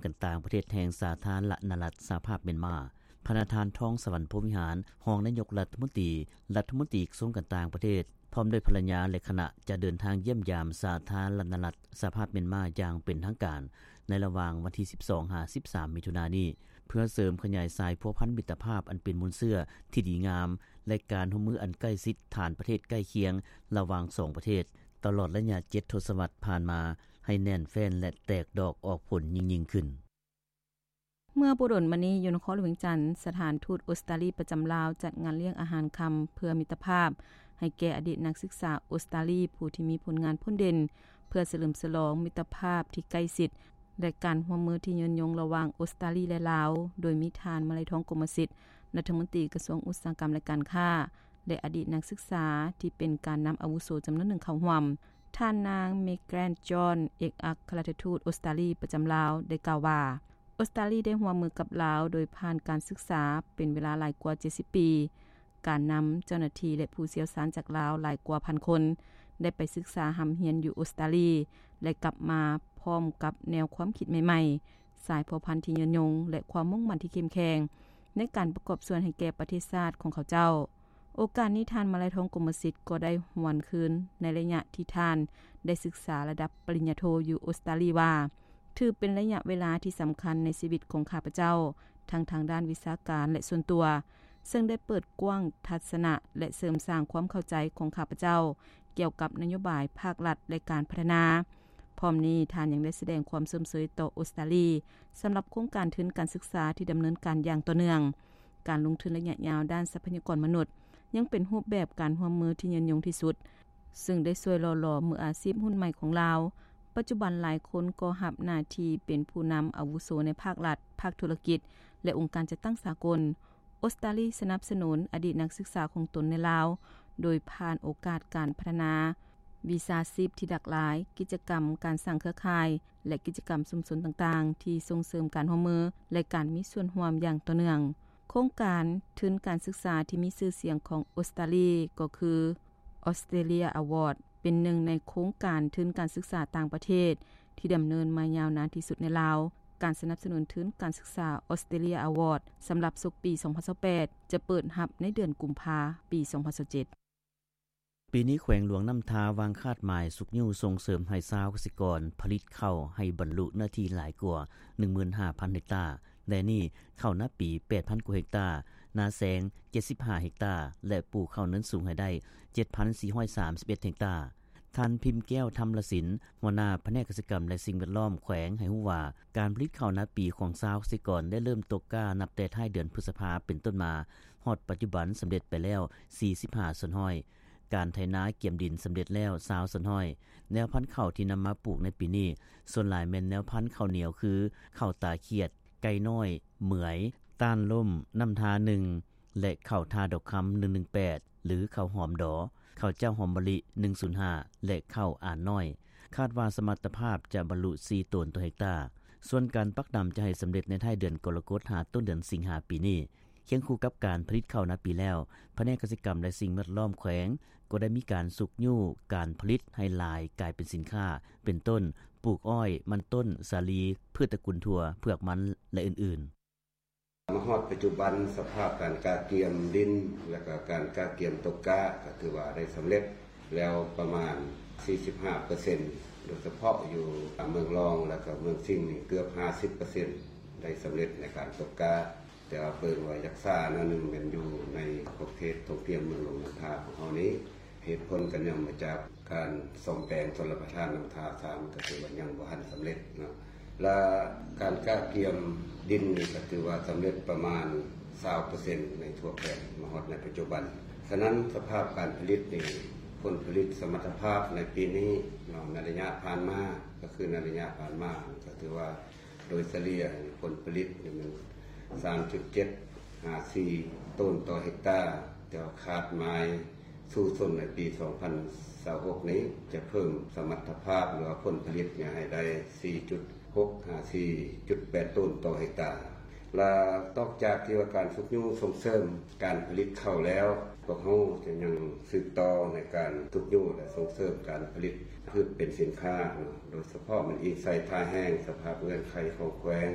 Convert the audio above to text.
ການຕ່າງປະເທດແຫ່ງສາທາລະນະລັດສະຫະພາບມຽນມາ, ພະນະທ່ານ ທອງສະຫວັນ ພົມວິຫານ ຮອງນາຍົກລັດຖະມົນຕີ, ລັດຖະມົນຕີກະຊວງການຕ່າງປະເທດ ພ້ອມດ້ວຍພັນລະຍາ ແລະ ຄະນະ ຈະເດີນທາງຢ້ຽມຢາມສາທາລະນະລັດສະຫະພາບມຽນມາຢ່າງເປັນທາງການ ໃນລະຫວ່າງວັນທີສິບສອງ ຫາ ສິບສາມ ມິຖຸນານີ້ ເພື່ອເສີມຂະຫຍາຍສາຍພົວພັນມິດຕະພາບອັນເປັນມູນເຊື້ອທີ່ດີງາມ ແລະ ການຮ່ວມມືອັນໃກ້ຊິດຖານປະເທດໃກ້ຄຽງລະຫວ່າງສອງປະເທດ ຕະຫຼອດໄລຍະເຈັດທົດສະວັດຜ່ານມາ ໃຫ້ແໜ້ນແຟ້ນ ແລະ ແຕກດອກອອກຜົນຍິ່ງໆຂຶ້ນ. ເມື່ອບໍ່ດົນມານີ້ ຢູ່ນະຄອນຫຼວງວຽງຈັນ, ສະຖານທູດອົດສະຕາລີປະຈຳລາວ ຈັດງານລ້ຽງອາຫານຄ່ຳເພື່ອມິດຕະພາບ ໃຫ້ແກ່ອະດີດນັກສຶກສາອົດສະຕາລີ ຜູ້ທີ່ມີຜົນງານພົ້ນເດັ່ນ ເພື່ອສະເຫຼີມສະຫຼອງມິດຕະພາບທີ່ໃກ້ຊິດ ແລະ ການຮ່ວມມືທີ່ຍືນຍົງລະຫວ່າງອົດສະຕາລີ ແລະ ລາວ, ໂດຍມີທ່ານ ມະໄລທອງ ກົມມະສິດ ລັດຖະມົນຕີກະຊວງອຸດສາຫະກຳ ແລະ ການຄ້າ ແລະ ອະດີດນັກສຶກສາທີ່ເປັນການນຳອາວຸໂສຈຳນວນໜຶ່ງເຂົ້າຮ່ວມ. ທ່ານນາງ ເມກແກຣນ ຈອນ ເອກອັກຄະລັດຖະທູດອົດສະຕາລີປະຈຳລາວ ໄດ້ກ່າວວ່າ, ອົດສະຕາລີໄດ້ຮ່ວມມືກັບລາວໂດຍຜ່ານການສຶກສາເປັນເວລາຫຼາຍກວ່າເຈັດສິບປີ. ການນຳເຈົ້າໜ້າທີ່ ແລະ ຜູ້ຊ່ຽວຊານຈາກລາວຫຼາຍກວ່າພັນຄົນ ໄດ້ໄປສຶກສາຮ່ຳຮຽນຢູ່ອົດສະຕາລີ ແລະ ກັບມາພ້ອມກັບແນວຄວາມຄິດໃໝ່ໆ, ສາຍພົວພັນທີ່ຍືນຍົງ ແລະ ຄວາມມຸ່ງໝັ້ນທີ່ເຂັ້ມແຂງ ໃນການປະກອບສ່ວນໃຫ້ແກ່ປະເທດຊາດຂອງເຂົາເຈົ້າ. ໂອກາດນີ້ ທ່ານ ມະໄລທອງ ກົມມະສິດ ກໍໄດ້ຫວນຄືນໃນໄລຍະທີ່ທ່ານໄດ້ສຶກສາລະດັບປະລິນຍາໂທຢູ່ອົດສະຕາລີວ່າ, ຖືເປັນໄລຍະເວລາທີ່ສຳຄັນໃນຊີວິດຂອງຂ້າພະເຈົ້າ, ທັງທາງດ້ານວິຊາການ ແລະ ສ່ວນຕົວ, ເຊິ່ງໄດ້ເປີດກວ້າງທັດສະນະ ແລະ ເສີມສ້າງຄວາມເຂົ້າໃຈຂອງຂ້າພະເຈົ້າກ່ຽວກັບນະໂຍບາຍພາກລັດ ແລະ ການພັດທະນາ. ພ້ອມນີ້ ທ່ານຍັງໄດ້ສະແດງຄວາມຊົມເຊີຍຕໍ່ອົດສະຕາລີ ສຳລັບໂຄງການທຶນການສຶກສາທີ່ດຳເນີນການຢ່າງຕໍ່ເນື່ອງ. ການລົງທຶນໄລຍະຍາວດ້ານຊັບພະຍາກອນມະນຸດ ຍັງເປັນຮູບແບບການຮ່ວມມືທີ່ຍືນຍົງທີ່ສຸດ, ເຊິ່ງໄດ້ຊ່ວຍຫຼໍ່ຫຼອມມືອາຊີບຮຸ່ນໃໝ່ຂອງລາວ. ປັດຈຸບັນຫຼາຍຄົນກໍຮັບໜ້າທີ່ເປັນຜູ້ນຳອາວຸໂສໃນພາກລັດ, ພາກທຸລະກິດ ແລະ ອົງການຈັດຕັ້ງສາກົນ. ອົດສະຕາລີສະໜັບສະໜູນອະດີດນັກສຶກສາຂອງຕົນໃນລາວ ໂດຍຜ່ານໂອກາດການພັດທະນາວິຊາຊີບທີ່ຫຼາກຫຼາຍ, ກິດຈະກຳການສ້າງເຄືອຂ່າຍ ແລະ ກິດຈະກຳຊຸມຊົນຕ່າງໆ ທີ່ສົ່ງເສີມການຮ່ວມມື ແລະ ການມີສ່ວນຮ່ວມຢ່າງຕໍ່ເນື່ອງ. ໂຄງການທຶນການສຶກສາທີ່ມີຊື່ສຽງຂອງອົດສະຕາລີ ກໍຄື Australia Award ເປັນໜຶ່ງໃນໂຄງການທຶນການສຶກສາຕ່າງປະເທດທີ່ດຳເນີນມາຍາວນານທີ່ສຸດໃນລາວ. ການສະໜັບສະໜູນທຶນການສຶກສາ Australia Award ສຳລັບສົກປີສອງພັນຊາວແປດ ຈະເປີດຮັບໃນເດືອນກຸມພາ ປີສອງພັນຊາວເຈັດ. ປີນີ້ແຂວງຫຼວງນ້ຳທາວາງຄາດໝາຍຊຸກຍູ້ສົ່ງເສີມໃຫ້ຊາວກະສິກອນຜະລິດເຂົ້າໃຫ້ບັນລຸເນື້ອທີ່ຫຼາຍກວ່າ ໜຶ່ງໝື່ນຫ້າພັນເຮັກຕາ. ແລະນີ້ເຂົ້ານາປີ ແປດພັນກວ່າເຮັກຕາ, ນາແຊງ ເຈັດສິບຫ້າເຮັກຕາ ແລະ ປູກເຂົ້າເນີນສູງໃຫ້ໄດ້ ເຈັດພັນສີ່ຮ້ອຍສາມສິບເອັດເຮັກຕາ. ທ່ານ ພິມແກ້ວ ທຳລະສິນ ຫົວໜ້າພະແນກກະສິກຳ ແລະ ສິ່ງແວດລ້ອມແຂວງ ໃຫ້ຮູ້ວ່າ ການຜະລິດເຂົ້ານາປີຂອງຊາວກະສິກອນໄດ້ເລີ່ມຕົກກ້ານັບແຕ່ທ້າຍເດືອນພຶດສະພາເປັນຕົ້ນມາ, ຮອດປັດຈຸບັນສຳເລັດໄປແລ້ວ ສີ່ສິບຫ້າສ່ວນຮ້ອຍ, ການໄຖນາກຽມດິນສຳເລັດແລ້ວ ຊາວສ່ວນຮ້ອຍ. ແນວພັນເຂົ້າທີ່ນຳມາປູກໃນປີນີ້ ສ່ວນຫຼາຍແມ່ນແນວພັນເຂົ້າໜຽວ ຄື ເຂົ້າຕາຂຽດ, ໄກ່ນ້ອຍ, ເໝືອຍ, ຕ້ານລົ້ມ, ນ້ຳທາໜຶ່ງ ແລະ ເຂົ້າທ່າດອກຄຳ ໜຶ່ງໜຶ່ງແປດ ຫຼື ເຂົ້າຫອມດໍ, ເຂົ້າເຈົ້າຫອມມະລິ ໜຶ່ງສູນຫ້າ ແລະ ເຂົ້າອານນ້ອຍ. ຄາດວ່າສະມັດຕະພາບຈະບັນລຸ ສີ່ໂຕນຕໍ່ເຮັກຕາ. ສ່ວນການປັກດຳຈະໃຫ້ສຳເລັດໃນທ້າຍເດືອນກໍລະກົດ ຫາຕົ້ນເດືອນສິງຫາປີນີ້. ຄຽງຄູ່ກັບການຜະລິດເຂົ້ານາປີແລ້ວ, ພະແນກກະສິກຳ ແລະ ສິ່ງແວດລ້ອມແຂວງ ກໍໄດ້ມີການຊຸກຍູ້ການຜະລິດໃຫ້ຫຼາຍກາຍເປັນສິນຄ້າ ເປັນຕົ້ນ ປູກອ້ອຍ, ມັນຕົ້ນ, ສາລີ, ພືດຕະກຸນຖົ່ວ, ເຜືອກມັນ ແລະ ອື່ນໆ. ມາຮອດປັດຈຸບັນ ສະພາບການກະກຽມດິນ ແລະ ກະການກະກຽມຕົກກ້າ ກະຖືວ່າໄດ້ສຳເລັດແລ້ວປະມານ ສີ່ສິບຫ້າເປີເຊັນ, ໂດຍສະເພາະຢູ່ເມືອງລອງ ແລະ ກະເມືອງສິງນີ້ເກືອບ ຫ້າສິບເປີເຊັນ ໄດ້ສຳເລັດໃນການຕົກກ້າ. ແຕ່ວ່າເບິ່ງວ່າຢາກຊ້າໜ້ອຍໜຶ່ງແມ່ນຢູ່ໃນຂອບເຂດທົ່ງພຽງເມືອງຫຼວງນ້ຳທາຂອງເຮົານີ້. ເຫດຜົນກໍເນື່ອງມາຈາກການສ້ອມແປງຊົນລະປະທານນ້ຳທາສາມ ກໍຖືວ່າຍັງບໍ່ທັນສຳເລັດເນາະ. ແລະ ການກະກຽມດິນນີ້ກໍຖືວ່າສຳເລັດປະມານ ຊາວເປີເຊັນ ໃນທົ່ວແຂວງມາຮອດໃນປັດຈຸບັນ. ສະນັ້ນ ສະພາບການຜະລິດນີ້ ຜົນຜະລິດສະມັດຕະພາບໃນປີນີ້ເນາະ ໃນໄລຍະຜ່ານມາ ກໍຄືໃນໄລຍະຜ່ານມາ ກໍຖືວ່າ ໂດຍສະເລ່ຍຜົນຜະລິດນີ້ແມ່ນ ສາມຈຸດເຈັດ ຫາ ສີ່ໂຕນຕໍ່ເຮັກຕາ, ແຕ່ວ່າຄາດໝາຍສູ້ຊົນໃນປີສອງພັນຊາວຫົກນີ້ ຈະເພີ່ມສະມັດຕະພາບ ຫຼືວ່າຜົນຜະລິດນີ້ໃຫ້ໄດ້ ສີ່ຈຸດຫົກ ຫາ ສີ່ຈຸດແປດໂຕນຕໍ່ເຮັກຕາ. ລະນອກຈາກທີ່ວ່າການຊຸກຍູ້ສົ່ງເສີມການຜະລິດເຂົ້າແລ້ວ, ພວກເຮົາຈະຍັງສືບຕໍ່ໃນການຊຸກຍູ້ ແລະ ສົ່ງເສີມການຜະລິດພືດເປັນສິນຄ້າເນາະ, ໂດຍສະເພາະແມ່ນອີງໃສ່ທ່າແຮງ, ສະພາບເງື່ອນໄຂຂອງແຂວງ,